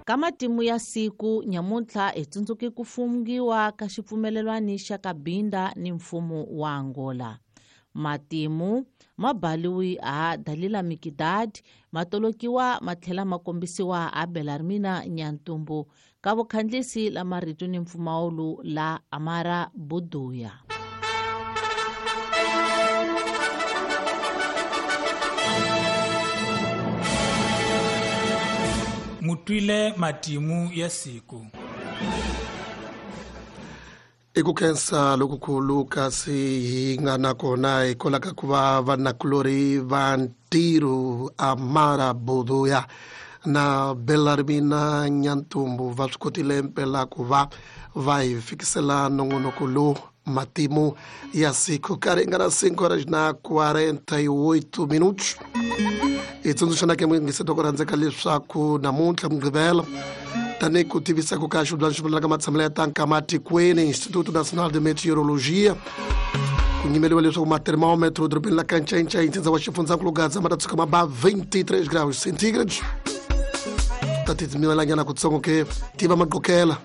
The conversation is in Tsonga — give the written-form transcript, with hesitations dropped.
Ka matimu ya siku nyamuntlha hi tsundzuki ku fungiwa ka xipfumelelwani xa Cabinda ni mfumo wa Angola. Matimu ma baliwi ha Dalila Mikidad, ma tolokiwa ma tlhela ma kombisiwa ha Belarmina Nyantumbu ka vukhandlisi la marito ni mpfumawulo la Amara Buduya. Mutwile matimu ya siku. I ku khensa lokukulu kasi hi nga na kona hikwalaho ka ku va vanakulorhi va ntirho Amara Buduya na Belarmina Nyantumbu va swi kotile mpela ku va va hi fikisela nongonoko lowu matimu ya siku. Ka ringana 5 horas na 48 minutos. Hi tsundzuxana ke muyingiseti wa ku rhandzeka leswaku namuntlha Mugqivela, tanihi ku tivisa ku ka xivulana xi vulaka matshamelo ya tanka matikweni, Instituto Nacional de Meteorologia, ku nyimeliwa leswaku matermometro dorobeni la Kancancai, ntsindza wa xifundzankulu Gaza, ma ta tshuka ma ba 23 graus centígrados. Ta titimelanyana kutsongo ke tiva maqokela.